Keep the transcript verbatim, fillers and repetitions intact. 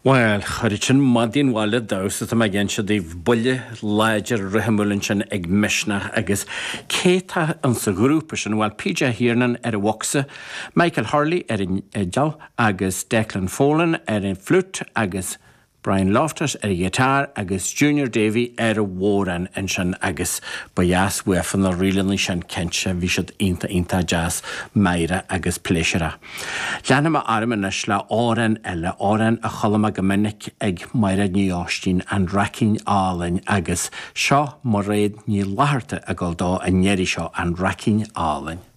Well, chuir sin maidin bhaile damhsa tá ag inse daoibh buille láidir rithimiúil ansin ag Misneach agus cé tá an sa ghrúpa sin well PJ Hirnan ar an bhocsa, Michael Hurley ar an fhidil agus Declan Folan ar an flute agus Brian Loftus ar an guitar agus Junior Davy ar an bhodhrán ansin agus ba dheas uafa na ríleanna sin cinnte bhí siad iontach iontach deas meidhreach agus pléisiúrtha. Leanfaidh mé orm anois le amhrán eile amhrán a chuala mé go minic ag Máire Ní Oistín an Raicín Álainn agus seo Mairéad Ní Fhlatharta ag gabháil dó an iarraidh seo an Raicín Álainn.